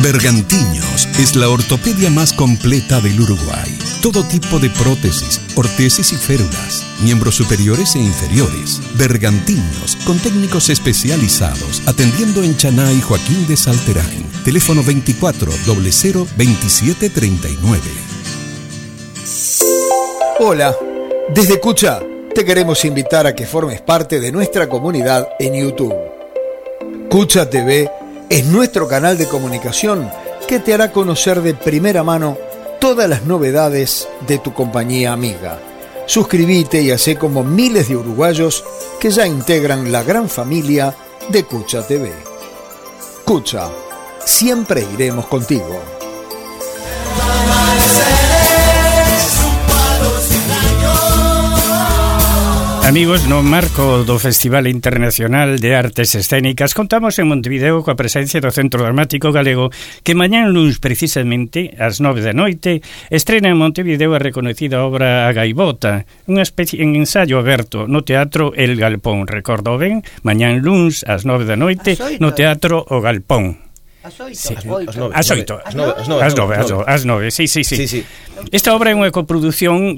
Bergantiños es la ortopedia más completa del Uruguay. Todo tipo de prótesis, ortesis y férulas, miembros superiores e inferiores. Bergantiños, con técnicos especializados, atendiendo en Chaná y Joaquín de Salterain. Teléfono 24 00 27 39. Hola, desde Cucha te queremos invitar a que formes parte de nuestra comunidad en YouTube. Cucha TV es nuestro canal de comunicación que te hará conocer de primera mano todas las novedades de tu compañía amiga. Suscríbete y hacé como miles de uruguayos que ya integran la gran familia de Cucha TV. Cucha, siempre iremos contigo. Amigos, no marco do Festival Internacional de Artes Escénicas contamos en Montevideo coa presencia do Centro Dramático Galego que mañán luns precisamente ás 9 da noite estrena en Montevideo a reconocida obra A Gaivota, unha especie en ensayo aberto no Teatro El Galpón, recordo ben, mañán luns ás 9 da noite no Teatro O Galpón. Ás 9, sí. Esta obra é unha coproducción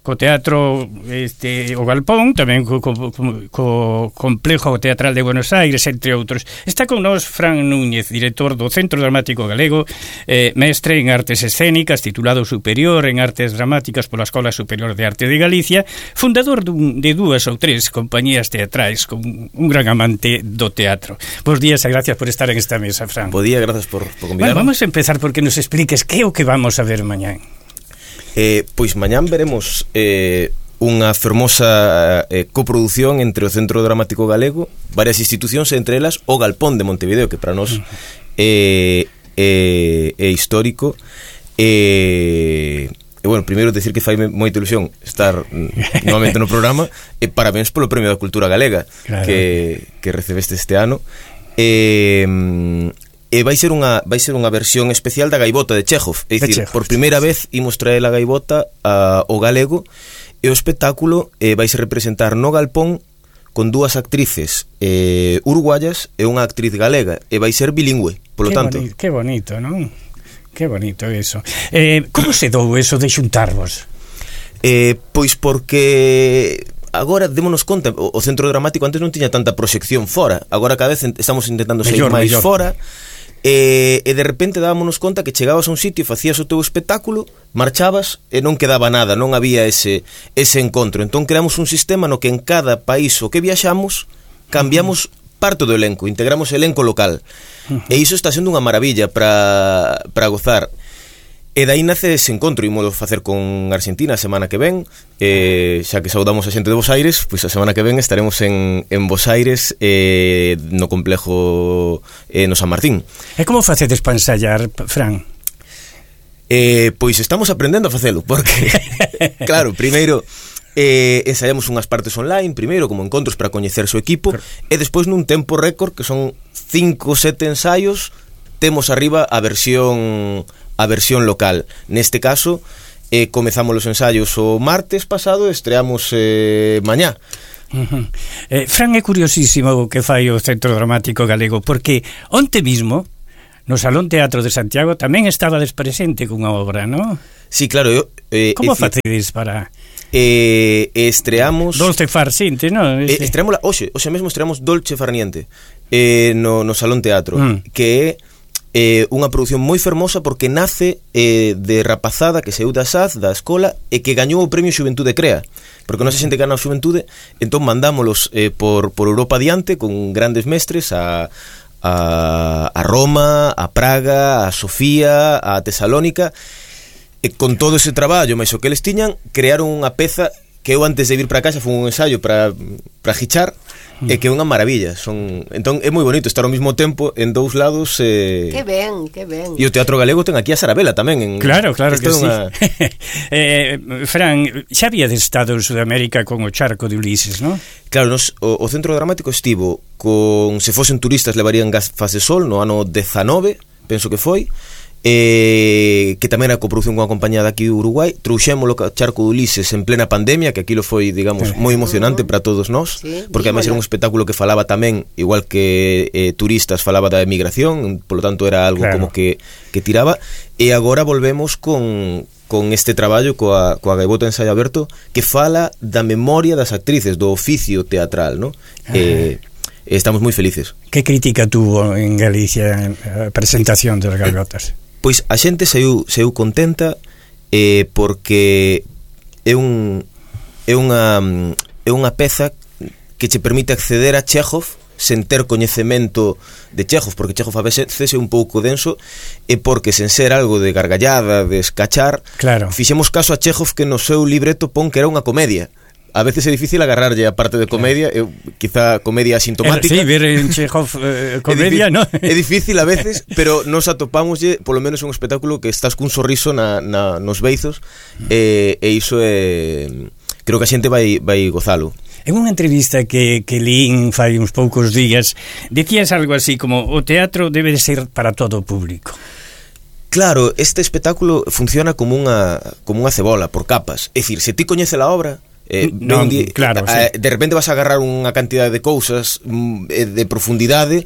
co Teatro O Galpón, tamén co Complejo Teatral de Buenos Aires, entre outros. Está con nós Fran Núñez, director do Centro Dramático Galego, mestre en Artes Escénicas, titulado superior en Artes Dramáticas pola Escola Superior de Arte de Galicia, fundador de dúas ou tres compañías teatrais, con un gran amante do teatro. Bos días e gracias por estar en esta mesa, Fran. Bo día, gracias por convidarme. Bueno, vamos a empezar porque nos expliques que é o que vamos a ver mañán. Pois mañán veremos unha fermosa coproducción entre o Centro Dramático Galego, varias institucións, entre elas o Galpón de Montevideo, que para nós é histórico. Bueno, primeiro decir que faime moita ilusión estar novamente no programa e parabéns polo Premio da Cultura Galega, claro, que recebeste este ano. Vai ser unha versión especial da Gaivota de Chekhov, é dicir, por primeira vez imos traer a Gaivota ao galego e o espectáculo vai se representar no Galpón con dúas actrices uruguayas e unha actriz galega e vai ser bilingüe, polo tanto. Que bonito, non? Que bonito eso. Como se dou eso de xuntarvos? Pois porque agora démonos conta, o Centro Dramático antes non tiña tanta proxección fora, agora cada vez estamos intentando sair máis fora. E de repente dámonos conta que chegabas a un sitio, facías o teu espectáculo, marchabas e non quedaba nada, non había ese encontro. Entón creamos un sistema no que en cada país o que viaxamos cambiamos parte do elenco, integramos o elenco local. E iso está sendo unha maravilla para gozar. E dai nace ese encontro, ímolo facer con Argentina a semana que ven, xa que saudamos a xente de Bos Aires, pois a semana que ven estaremos en Bos Aires, no complejo no San Martín. E como facedes para ensayar, Fran? Pois estamos aprendendo a facelo, porque claro, primeiro ensaiamos unhas partes online, primeiro como encontros para coñecer o equipo, e despois nun tempo récord, que son 5 ou 7 ensaios, temos arriba a versión local. Neste caso, comezamos os ensaios o martes pasado e estreamos mañá. Fran, é curiosísimo o que fai o Centro Dramático Galego, porque onte mismo no Salón Teatro de Santiago tamén estabades presente cunha obra, non? Sí, claro. Como facedes para... estreamos Dolce Farniente, non? Estreamos hoxe mesmo estreamos Dolce Farniente no Salón Teatro, que é unha produción moi fermosa porque nace de rapazada que saiu da SAD, da escola, e que gañou o premio Xuventude Crea, porque non se xente que gana a Xuventude, entón mandámolos por Europa adiante con grandes mestres a Roma, a Praga, a Sofía, a Tesalónica, e con todo ese traballo máis o que eles tiñan, crearon unha peza que eu antes de vir para casa foi un ensayo para gichar, e que é unha maravilla. Entón é moi bonito estar ao mesmo tempo en dous lados. Que ben. E o Teatro Galego ten aquí a Sarabela tamén. Claro que sí. Fran, xa había estado en Sudamérica con o Charco de Ulises, non? Claro, o Centro Dramático estivo con, se fosen turistas levarían gafas de sol no ano 19, penso que foi, que tamén era coproducción con a compañía daqui de Uruguai. Trouxémolo a Charco de Ulises en plena pandemia, que aquilo foi, digamos, moi emocionante para todos nós, porque además era un espectáculo que falaba tamén, igual que turistas, falaba da emigración, polo tanto era algo como que tiraba. E agora volvemos con este traballo coa Gaivota Ensaio Aberto, que fala da memoria das actrices, do oficio teatral, ¿no? Estamos moi felices. Que crítica tuvo en Galicia a presentación das Gaivotas? Pois a xente saiu contenta, porque é unha peza que che permite acceder a Chekhov sen ter coñecemento de Chekhov, porque Chekhov a veces é un pouco denso, e porque sen ser algo de gargallada, de escachar, fixemos caso a Chekhov, que no seu libreto pon que era unha comedia. A veces é difícil agarrarlle a parte de comedia, quizá comedia asintomática. Sí, ver en Chekhov comedia, ¿no? É difícil a veces, pero nos atopámoslle, polo menos un espectáculo que estás cun sorriso nos beizos, e iso é... Creo que a xente vai gozalo. En unha entrevista que lín fai uns poucos días, decías algo así como: o teatro debe de ser para todo o público. Claro, este espectáculo funciona como unha cebola, por capas. É dicir, se ti coñece a obra, claro, de repente vas a agarrar unha cantidade de cousas de profundidade,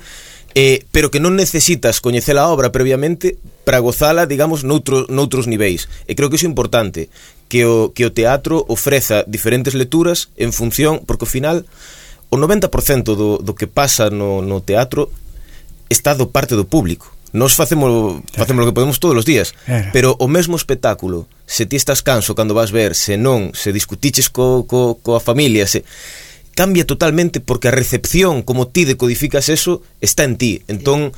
pero que non necesitas coñecer a obra previamente para gozala, digamos, noutros niveis. E creo que iso é importante, que o teatro ofreza diferentes lecturas en función, porque ao final o 90% do que pasa no teatro está do parte do público. Nós facemos o que podemos todos os días, pero o mesmo espectáculo, se ti estás canso cando vas ver, se non, se discutiches coa familia, se cambia totalmente, porque a recepción, como ti decodificas eso, está en ti. Entón,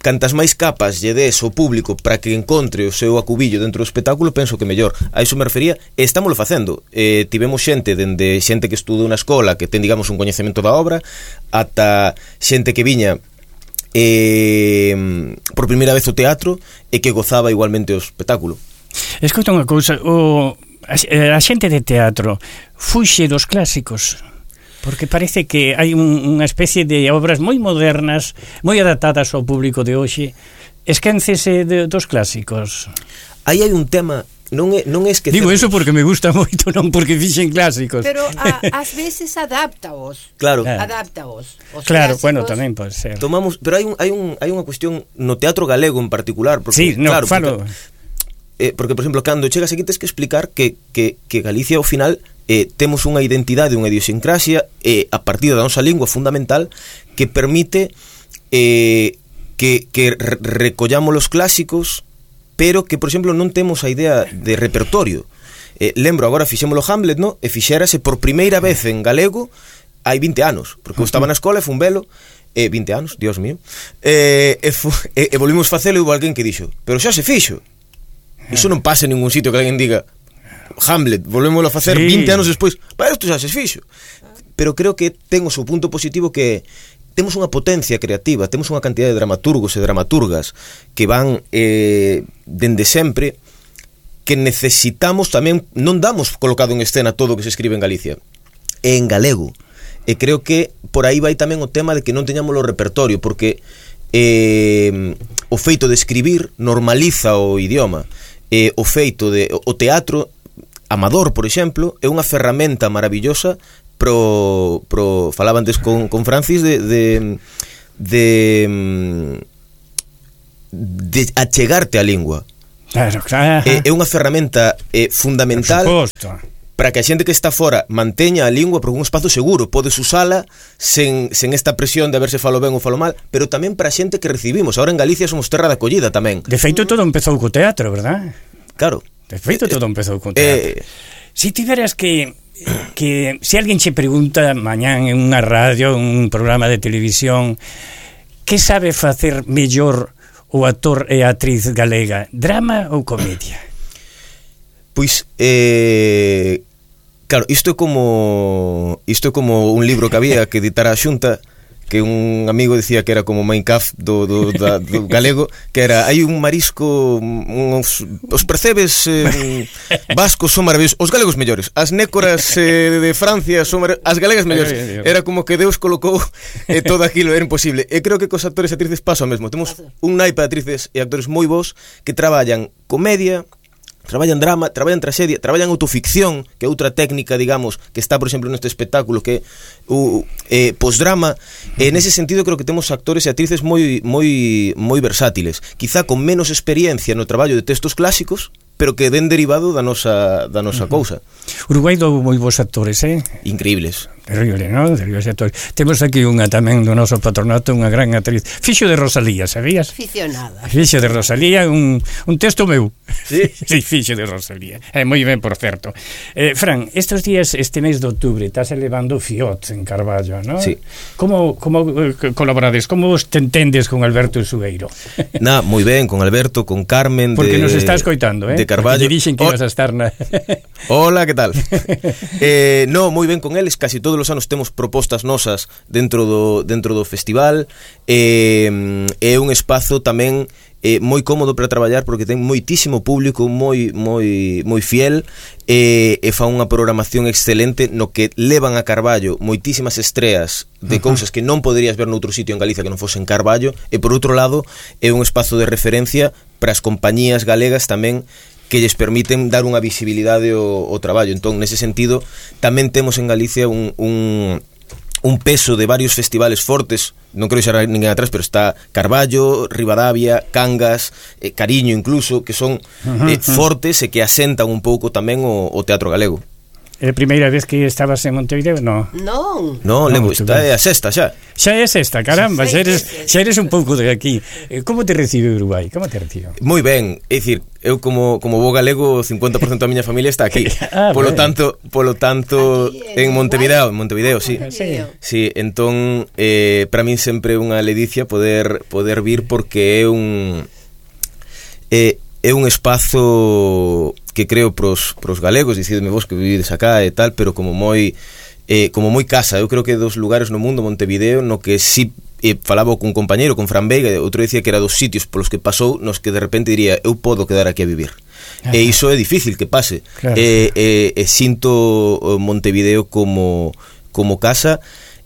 cantas máis capas lle des ao público para que encontre o seu acubillo dentro do espectáculo, penso que mellor. A iso me refería, e estámoslo facendo. Tivemos xente que estudou na escola, que ten, digamos, un coñecemento da obra, ata xente que viña por primeira vez o teatro e que gozaba igualmente o espectáculo. Escoita unha cousa, a xente de teatro fuxe dos clásicos, porque parece que hai unha especie de obras moi modernas, moi adaptadas ao público de hoxe. Esquéncese dos clásicos. Aí hai un tema, non é esquecer. Digo eso porque me gusta moito, non porque fixen clásicos. Pero ás veces adáptaos. Claro. Adáptaos. Claro, bueno, tamén pode ser. Pero hai unha cuestión no teatro galego en particular, porque sí, no, claro, falo. Porque por exemplo, cando chegas aquí tens que explicar que Galicia ao final temos unha identidade, unha idiosincrasia a partir da nosa lingua fundamental que permite que recollamos os clásicos, pero que, por exemplo, non temos a idea de repertorio. Lembro, agora fixémolo Hamlet, no? E fixérase por primeira vez en galego hai 20 anos, porque eu estaba na escola e fun velo, 20 anos, Dios mío, e volvimos facelo e hubo alguén que dixo, pero xa se fixo. Iso non pasa en ningún sitio que alguén diga Hamlet, volvémoslo a facer 20 anos despois, para isto xa se fixo. Pero creo que ten o seu punto positivo, que temos unha potencia creativa, temos unha cantidad de dramaturgos e dramaturgas que van dende sempre, que necesitamos tamén, non damos colocado en escena todo o que se escribe en Galicia, en galego. E creo que por aí vai tamén o tema de que non teñamos o repertorio, porque o feito de escribir normaliza o idioma. O feito de o teatro amador, por exemplo, é unha ferramenta maravillosa pro falaba antes con Francis de achegarte á lingua. Claro. É unha ferramenta fundamental para que a xente que está fora manteña a lingua por un espazo seguro. Podes usala sen esta presión de a ver se falo ben ou falo mal, pero tamén para a xente que recibimos. Ahora en Galicia somos terra de acollida tamén. De feito todo empezou co teatro, verdad? Claro. De feito todo empezou co teatro. Si tiveras que se alguén che pregunta mañán en unha radio, en un programa de televisión, que sabe facer mellor o actor e a actriz galega, drama ou comedia? Pois claro, isto é como un libro que había que editar a Xunta, que un amigo decía que era como Minecraft do galego, que era, hai un marisco, os percebes vascos son maravillosos, os galegos mellores, as nécoras de Francia son as galegas mellores. Era como que Deus colocou todo aquilo, era imposible. E creo que cos actores e actrices pasa o mesmo. Temos un naipe de actrices e actores moi bons que traballan comedia, traballan drama, traballan traxedia, traballan autoficción, que é outra técnica, digamos, que está, por exemplo, neste espectáculo, que é o posdrama. Nese sentido, creo que temos actores e actrices moi versátiles, quizá con menos experiencia no traballo de textos clásicos, pero que den derivado da nosa cousa. Uruguai dou moi bons actores, Increíbles. Terrible, non? Terribles actores. Temos aquí unha tamén do noso patronato, unha gran actriz, Fixo de Rosalía, sabías? Aficionada. Fixo de Rosalía, un texto meu. Sí? Sí, Fixo de Rosalía. Moi ben, por certo. Fran, estes días, este mes de outubro, estás elevando Fiot en Carballo, non? Sí. Como colaborades? Como te entendes con Alberto Sueiro? Moi ben, con Alberto, con Carmen. Porque nos está escoitando, de Carballo. Porque dixen que ibas a estar na... Hola, que tal? Moi ben con eles, casi todos os anos temos propostas nosas dentro do festival. É un espazo tamén moi cómodo para traballar porque ten moitísimo público moi fiel e fa unha programación excelente no que levan a Carballo moitísimas estreas de cousas que non poderías ver noutro sitio en Galicia que non fose en Carballo, e por outro lado é un espazo de referencia para as compañías galegas tamén, que lles permiten dar unha visibilidade ao traballo. Entón, nese sentido, tamén temos en Galicia un peso de varios festivales fortes. Non quero deixar ninguén atrás, pero está Carballo, Ribadavia, Cangas, Cariño incluso, que son fortes e que asentan un pouco tamén o teatro galego. É a primeira vez que estabas en Montevideo? Non, Levo, está é a sexta xa. Xa é a sexta, caramba, xa eres un pouco de aquí. Como te recibe Uruguai? Como te recibe? Moi ben, é dicir, eu como bo galego, 50% da miña familia está aquí. Polo tanto, aquí, en Montevideo, sí. Sí, entón para min sempre é unha ledicia poder vir, porque é un espazo que creo pros galegos, dicidme vos que vivides acá e tal, pero como moi casa. Eu creo que dos lugares no mundo, Montevideo, no que sí falaba con un compañeiro, con Fran Veiga, outro dicía que era dos sitios polos que pasou nos que de repente diría, eu podo quedar aquí a vivir. E iso é difícil que pase. Claro. Sinto Montevideo como casa.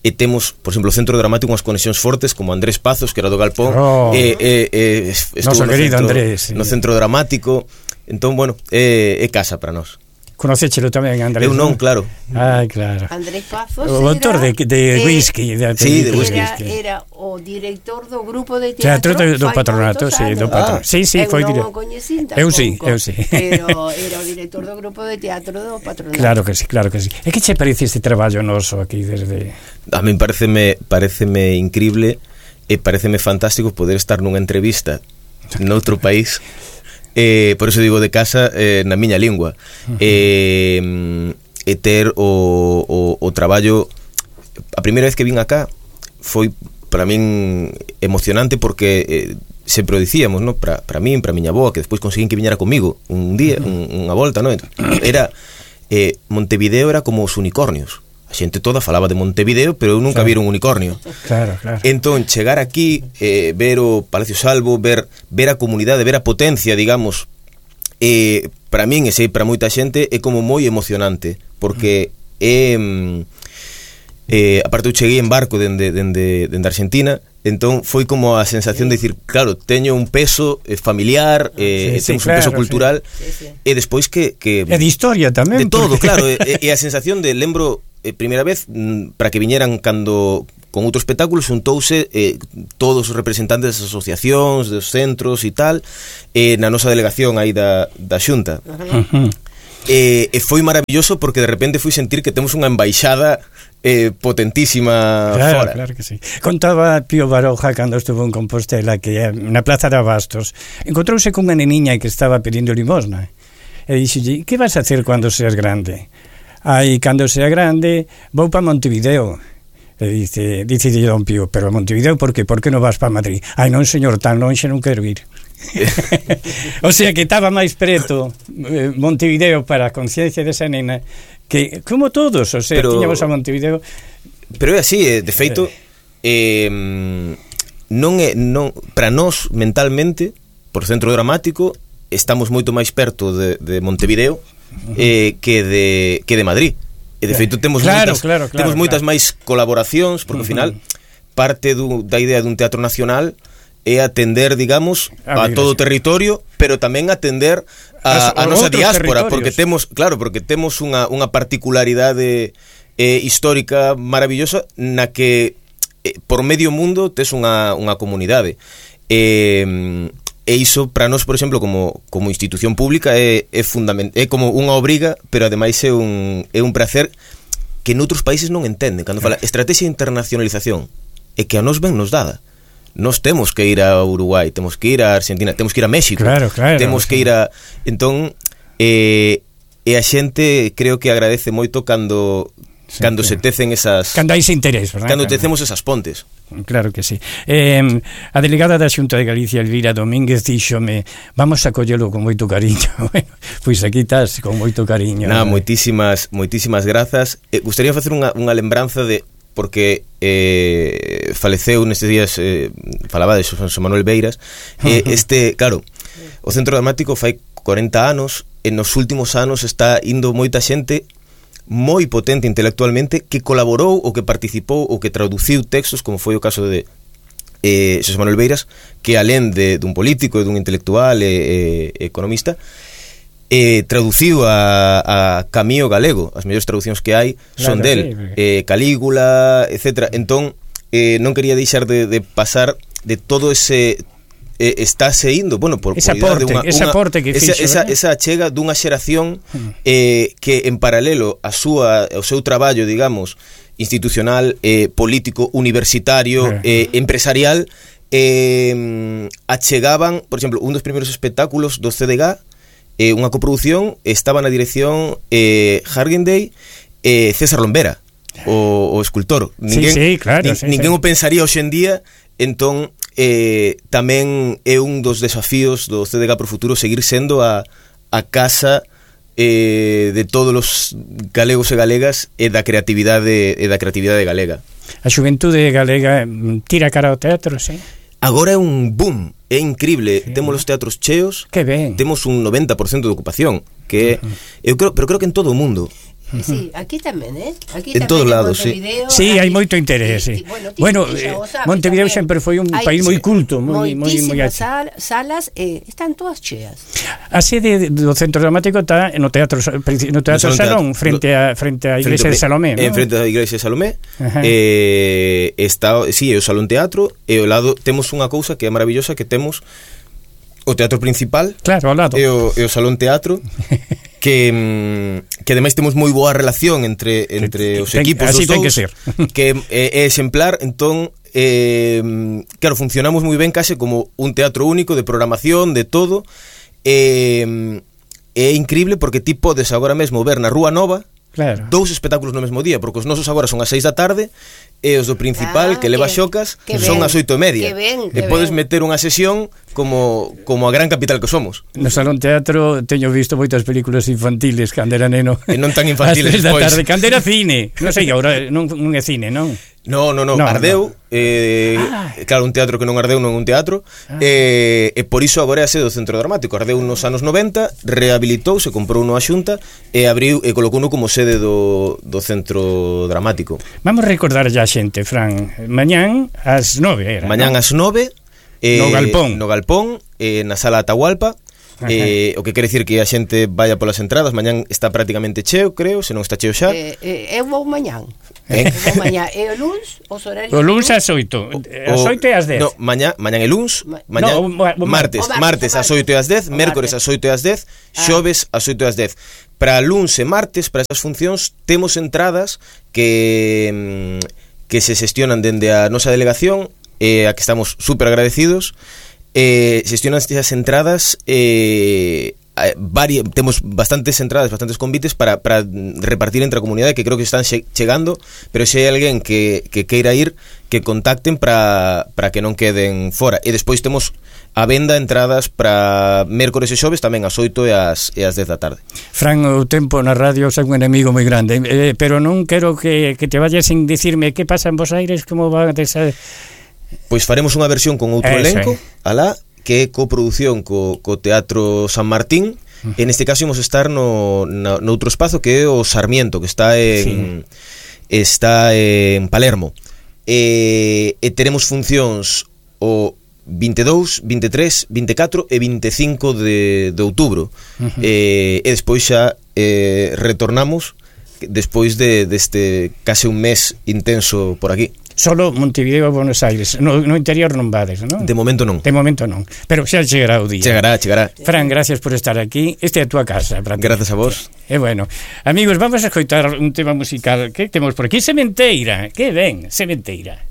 E temos, por exemplo, o Centro Dramático unhas conexións fortes, como Andrés Pazos, que era do Galpón, estuvo no Centro Dramático. Entón, bueno, é casa para nós. Conocéchelo tamén, Andrés? Eu non, claro. Claro. Andrés Pazos o autor de whisky. Sí, de whisky. Era o director do grupo de teatro do patronato, sí, do patronato. Sí, foi director. Eu non o coñecín tampouco. Eu sí. Pero era o director do grupo de teatro do patronato. Claro que sí. E que che parece este traballo noso aquí desde... A min pareceme increíble e pareceme fantástico poder estar nunha entrevista noutro país. Por eso digo de casa, na miña lingua, e ter o traballo. A primeira vez que vin acá foi para min emocionante, porque sempre o dicíamos, ¿no? Para min, para miña boa, que despois conseguín que viñera comigo un día, unha volta, ¿no? Era Montevideo era como os unicornios. A xente toda falaba de Montevideo, pero eu nunca vira un unicornio. Claro. Entón, chegar aquí, ver o Palacio Salvo, ver a comunidade, ver a potencia, digamos, para min, e sei para moita xente, é como moi emocionante, porque aparte eu cheguei en barco dende Argentina, entón foi como a sensación de dicir, claro, teño un peso familiar, temos un peso cultural, e despois que e de historia tamén, de todo, claro, e a sensación de, lembro, primeira vez para que viñeran cando con outro espectáculo xuntouse todos os representantes das asociacións, dos centros e tal, na nosa delegación aí da Xunta. E foi maravilloso, porque de repente fui sentir que temos unha embaixada potentísima fora. Claro que sí. Contaba Pío Baroja cando estuvo en Compostela que na Plaza de Abastos encontrouse con unha neniña que estaba pedindo limosna e dixolle, que vas a hacer cando seas grande? Cando sea grande vou para Montevideo. E dice Don Pío, pero a Montevideo por qué? Por que non vas para Madrid? Non, señor, tan lonxe non quero ir. O sea que estaba máis preto Montevideo para a conciencia desa nena, que como todos, o sea, tiñamos a Montevideo. Pero é así, de feito, para nós mentalmente, por Centro Dramático, estamos moito máis perto de Montevideo que de Madrid. E de feito temos moitas máis colaboracións, porque ao final parte da idea dun teatro nacional é atender, digamos, a todo o territorio, pero tamén atender a nosa diáspora, porque temos unha particularidade histórica maravillosa na que por medio mundo tes unha comunidade. E iso para nós, por exemplo, como institución pública é fundamental, é como unha obriga, pero ademais é un prazer que noutros países non entenden. Cando fala estrategia de internacionalización, é que a nós ben nos dada. Nós temos que ir a Uruguai, temos que ir a Argentina, temos que ir a México, temos que ir a... Entón, e a xente creo que agradece moito cando se tecen esas... Cando hai ese interés, verdad? Cando tecemos esas pontes. Claro que sí. A delegada da Xunta de Galicia, Elvira Domínguez, díxome, vamos a collelo con moito cariño. Pois aquí estás con moito cariño. Moitísimas grazas. Gustaría facer unha lembranza de... porque faleceu nestes días, falaba de Xosé Manuel Beiras, claro, o Centro Dramático fai 40 anos, e nos últimos anos está indo moita xente moi potente intelectualmente que colaborou ou que participou ou que traduciu textos, como foi o caso de Xosé Manuel Beiras, que alén dun político e dun intelectual e economista, traduciu a Camío galego. As mellores traduccións que hai son del, Calígula, etc. Entón, non quería deixar de pasar de todo ese... estáse indo, bueno, por ese aporte que fixo, esa achega dunha xeración que en paralelo ao seu traballo, digamos, institucional, político, universitario, empresarial, achegaban, por exemplo, un dos primeiros espectáculos do CDG, unha coproducción, estaba na dirección Hargenday e César Lombera, o escultor. Ninguén o pensaría hoxe en día. Entón, tamén é un dos desafíos do CDG Pro Futuro seguir sendo a casa de todos os galegos e galegas e da creatividade galega. A xuventude galega tira cara ao teatro, sí? Agora é un boom, é increíble, temos os teatros cheos, que ben. Temos un 90% de ocupación, que pero creo que en todo o mundo. Sí, aquí tamén, Aquí en todos lados, sí. Sí, hai moito interés, sí. Bueno, Montevideo sempre foi un país moi culto, moi salas están todas cheas. A sede do Centro Dramático está no Teatro Salón, frente á iglesia de Salomé, ¿no? Frente á iglesia de Salomé. Está, sí, é o Salón Teatro, e ao lado temos unha cousa que é maravillosa, que temos o teatro principal, claro, ao lado. E o Salón Teatro. Que ademais temos moi boa relación entre os equipos dos dous, que ser. Que é exemplar. Entón, claro, funcionamos moi ben, case como un teatro único de programación, de todo. É increíble porque ti podes agora mesmo ver na Rúa Nova, claro, 2 espectáculos no mesmo día, porque os nosos agora son as 6 da tarde e os do principal, que leva xocas, son as 8:30. E podes meter unha sesión como a gran capital que somos. No Salón Teatro teño visto moitas películas infantiles cando era neno. E non tan infantiles despois. As 3 da tarde, cando era cine. Non sei, agora non é cine, non? No, ardeu. Claro, un teatro que non ardeu non é un teatro. E por iso agora é a sede do Centro Dramático. Ardeu nos anos 90, rehabilitouse, comprou unha xunta e abriu e colocouno como sede do Centro Dramático. Vamos recordar ya xente, Fran. Mañán ás 9 era. Mañán ás 9 no Galpón, na Sala Atahualpa. O que quere dicir que a xente vaya polas entradas. Mañán está prácticamente cheo, creo, se non está cheo xa. Eu vou mañán. E o luns, os horarios. O luns ás 8. Ás 8 e ás 10. No, mañán é luns. Martes ás 8 e ás 10, mércores ás 8 e ás 10, xoves ás 8 e ás 10. Para luns e martes, para esas funcións, temos entradas que se xestionan dende a nosa delegación, a que estamos super agradecidos. Xestionan estas entradas temos bastantes entradas, bastantes convites para repartir entre a comunidade, que creo que están chegando, pero se hai alguén que queira ir, que contacten para que non queden fora. E despois temos a venda entradas para mércores e xoves tamén ás 8 e ás 10 da tarde. Fran, o tempo na radio é un enemigo moi grande, pero non quero que te vayas sin dicirme que pasa en Bos Aires, como va a ser... Pois faremos unha versión con outro elenco, alá, que é coproducción co Teatro San Martín. En este caso imos estar noutro espazo que é o Sarmiento, que está en Palermo. E teremos funcións o 22, 23, 24 e 25 de outubro. E despois xa retornamos despois deste case un mes intenso por aquí. Solo Montevideo e Buenos Aires, no interior non vades, non? De momento non. De momento non, pero xa chegará o día. Chegará. Fran, gracias por estar aquí. Esta é a túa casa. Gracias a vos. E bueno, amigos, vamos a escoitar un tema musical que temos por aquí, Sementeira. Que ben, Sementeira.